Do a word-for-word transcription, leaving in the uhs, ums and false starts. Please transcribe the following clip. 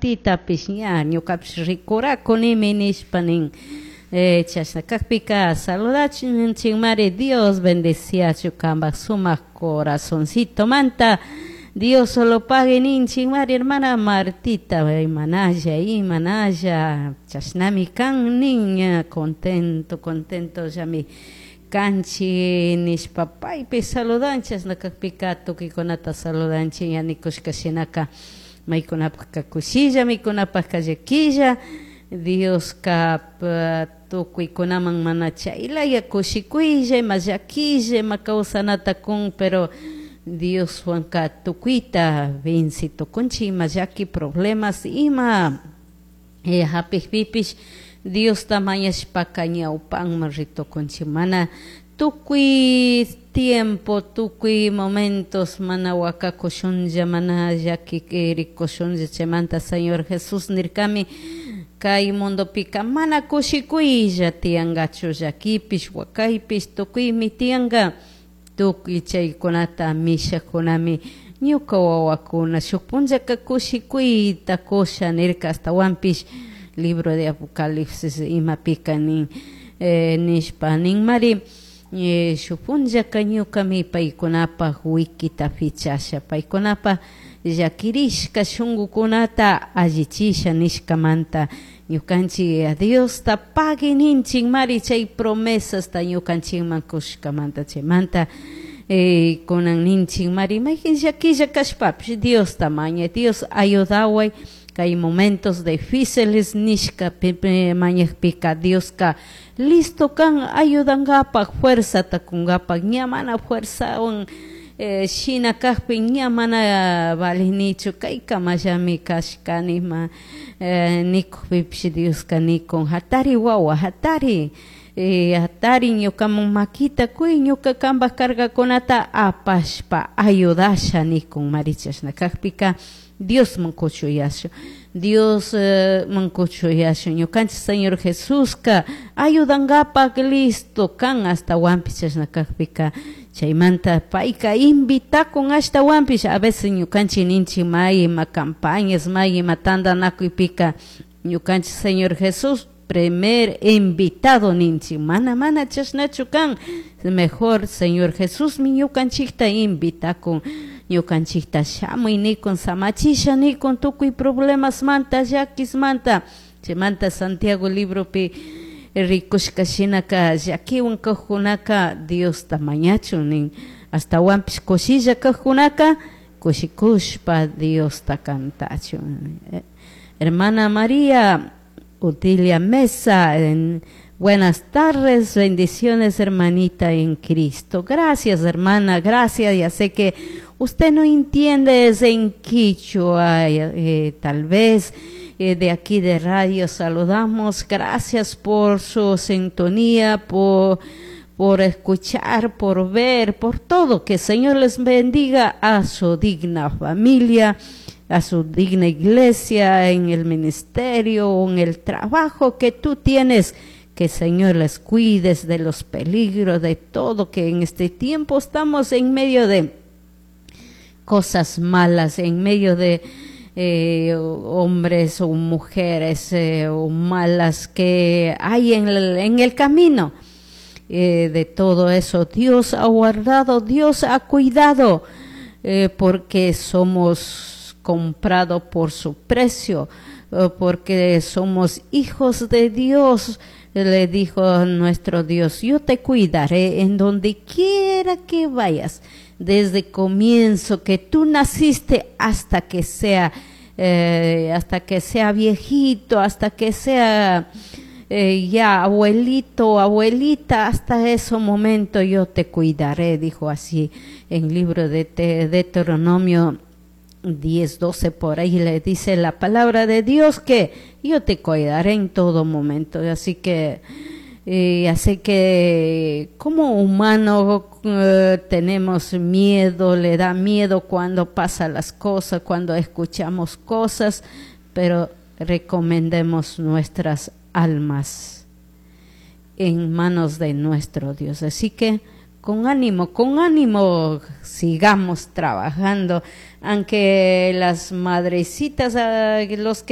Martitapish ña ñukapish rikurakunimi nishpa nin. Eh, chashna kakpika saludachinchikmari. Dios bendeciachu kanpak sumak corazoncito manta. Dios lo pague ninchikmari, hermana Martita. Imanalla, imanalla, chashnami kan nin, contento, contento llami kanchik nishpa paypi saludan. Chashna kakpika tukuykunata saludanchik. Ña nikushka shinaka, maykunapaka kushilla, maykunapaka llaquilla. Dioska tukuykunaman mana chaylaya kushikuylla, ima llaquilla, ima kawsanata kun, pero Dioswanka tukuyta venci tukunchik. Ima llaki, problemas ima eh, hapikpipish Diosta mañashpaka ñawpanman ritukunchik. Mana tukuy tiempo, tukuy momentos mana wakakushunlla, mana llakirikushunlla. Chaymanta Señor Jesús nirkami: kay mundopika mana kushikuylla tiyankachu, llakipish, wakaypish tukuymi tiyanka. Tukuy chaykunata mishakkunami ñuka wawakuna, shuk punllaka kushikuyta kusha nirka. Ashtawanpish libro de Apocalipsis imapika nin, eh, nishpa ninmari, eh, shuk punllaka ñukami paykunapak wikita fichasha, paykunapak llakirishka shunkukunata allichisha nishkamanta. Ñukanchik Diosta pagui ninchik mari chay promesasta ñukanchikman kushkamanta. Chaymanta eh, kunan ninchik mari, mayjin llaquilla kashpapish Diosta mañay, Dios ayudaway kay momentos difíciles nishka mañakpika, Dioska listo kan ayudangapak, fuerzata kungapak. Ña mana fuerzawan eh, shina kakpi, ña mana valinichu, kaykamallami kashkani ma eh, nikukpipish, Dioska nikun: hatari wawa, hatari, eh, hatari, ñukaman makita kuy, ñuka kanpak cargakunata apashpa ayudasha nikun mari. Chashna kakpika Diosman kuchuyashun, Diosman kuchuyashun. Ñukanchik Señor Jesuska ayudangapak listo kan. Ashtawanpish chashna kakpika, chaymanta payka invitakun. Ashtawanpish a veces ñukanchik ninchik may ima campañas, may ima tantanakuypika ñukanchik Señor Jesús primer invitado ninchik. Mana, mana chashnachu kan. Mejor Señor Jesusmi ñukanchikta invitakun, ñukanchikta shamuy nikun, samachisha nikun tukuy problemasmanta, llakismanta. Chaymanta Santiago libropi rikushka shinaka, llakiwan kajkunaka Diosta mañachun nin, ashtawanpish kushilla kajkunaka kushikushpa Diosta cantachun. Hermana María Utilia Mesa, en buenas tardes, bendiciones, hermanita en Cristo. Gracias, hermana, gracias. Ya sé que usted no entiende es en quichua, eh, tal vez eh, de aquí de radio saludamos. Gracias por su sintonía, por por escuchar, por ver, por todo. Que el Señor les bendiga a su digna familia, a su digna iglesia, en el ministerio, en el trabajo que tú tienes. Que el Señor les cuides de los peligros, de todo, que en este tiempo estamos en medio de cosas malas, en medio de eh, hombres o mujeres eh, o malas que hay en el, en el camino. Eh, de todo eso Dios ha guardado, Dios ha cuidado, eh, porque somos comprados por su precio, eh, porque somos hijos de Dios. Le dijo nuestro Dios: yo te cuidaré en donde quiera que vayas, desde comienzo que tú naciste hasta que sea, eh, hasta que sea viejito, hasta que sea eh, ya abuelito, abuelita, hasta ese momento yo te cuidaré, dijo así en libro de Deuteronomio diez, doce por ahí le dice la palabra de Dios que yo te cuidaré en todo momento. Así que, eh, así que como humano eh, tenemos miedo, le da miedo cuando pasan las cosas, cuando escuchamos cosas, pero recomendemos nuestras almas en manos de nuestro Dios. Así que con ánimo, con ánimo sigamos trabajando, aunque las madrecitas, ah, los que